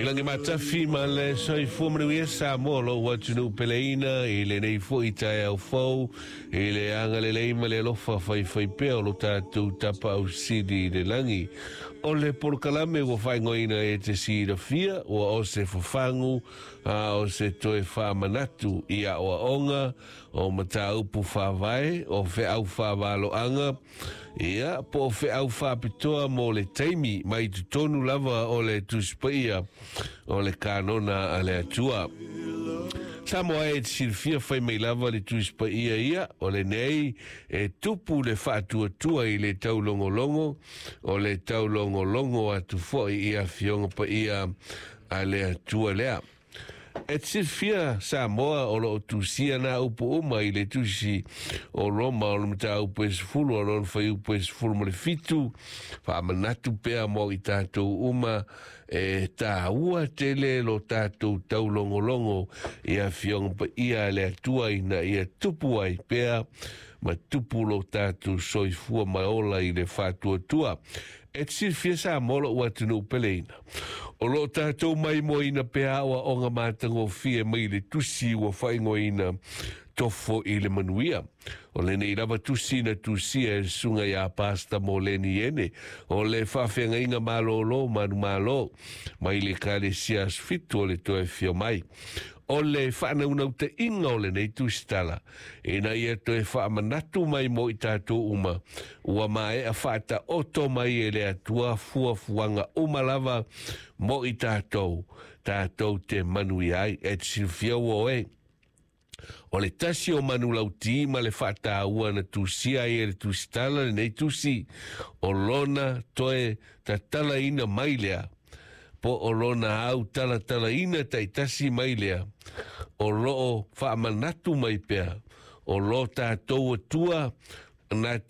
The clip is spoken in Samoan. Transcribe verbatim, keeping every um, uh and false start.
I lagi matafi ma le soifua manuia Samoa lou atunuu peleina i lenei fo'i taeao fou i le agalelei ma le alofa faifaipea o lo tatou Tapaau Sili i le lagi. O le polokalame ua faaigoaina e te silafia ua o se fafagu a o se toe faamanatu i aoaoga o mataupu faavae o feau faavaloaga ia po o feau faapitoa mo le taimi mai totonu lava o le Tusi Paia o le kanona a le Atua. Samoa e te silafia fai mai lava le Tusi Paia ia o lenei e tupu le faatuatua i le taulogologo o le taulogologo atu fo'i i afioga paia a le Atua lea. E te silafia Samoa o loo tusia na upu uma i le tusi o Roma o le mataupu e sefulu o lona fuaiupu e sefulu ma le fitu faamanatu pea mo i tatou uma e tāua tele lo tatou taulogologo i afioga paia a le Atua ina ia tupu ai pea ma tupu lo tatou soifua ma ola i le faatuatua. E te silafia Samoa lou atunuu peleina. O loo tatou maimoaina pea aoaoga matagofie mai le tusi ua faaigoaina Tofo i le Manuia. O lenei lava tusi na tusia e le susuga ia Pastor Moleni Ene o le faafeagaiga malōlō manumalo mai le Ekalesia Aso Fitu o le Toe Afio Mai. O le faanaunautaiga o lenei tusitala ina ia toe faamanatu mai mo i tatou uma ua maea faataoto mai e le Atua fuafuaga uma lava mo i tatou tatou te manuia ai. E te silafia ua oe o le tasi o manulauti ma le faataua na tusia ai e le tusitala lenei tusi o lona toe tatalaina mai lea po o lona au talatalaina taitasi mai lea o loo faamanatu mai pea o lo tatou Atua na